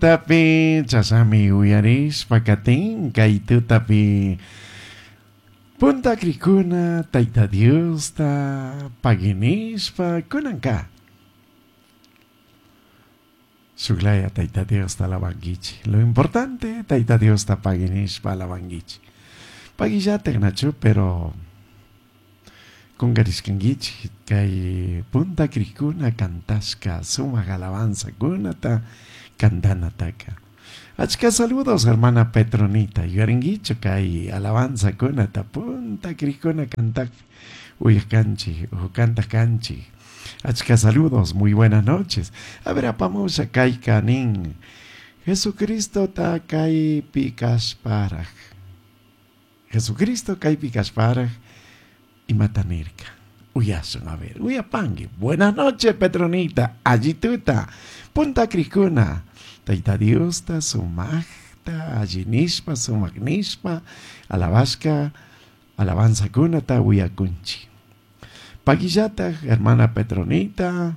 Tutapi chashami uyarishpa katin kay tutapi punta krikuna Tayta Diosta paginishpa kunanka shuklaya Tayta Diosta alabankichik. Lo importante Tayta Diosta paginishpa alabankichik. Pagillatik nachu pero kungarishkankichik kay punta krikuna cantashka sumak alabanzakunata cantanataka. Achka saludos hermana Petronita, yuyarinkichu kay alabanzakunata punta krikuna cantakpi uyaj kanchik o cantaq kanchik. Achka saludos, muy buenas noches. A ver, apamusha kayka nin Jesucristo ta kaypi kashparaj. Jesucristo kaypi kashparaj imata nirka. Uyasun, a ver, uyapangi. Buenas noches, Petronita, allituta, punta krikuna. Tayta Diosta sumajta, allinishpa, sumak nishpa, alabashka, alabanzakunata uyakunchik. Paguillata, hermana Petronita,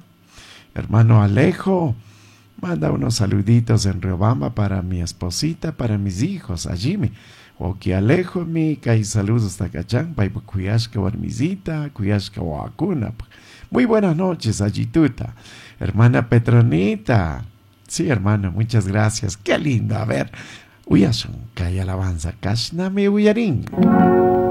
hermano Alejo, manda unos saluditos en Riobamba para mi esposita, para mis hijos, allí me. Oki Alejo mi, kay saludos takachan, pay kuyashka warmisita, kuyashka wakuna. Muy buenas noches, allituta. Hermana Petronita. Sí, hermano, muchas gracias. Qué lindo. A ver, uyasun, kay alabanza, kashnami uyarin.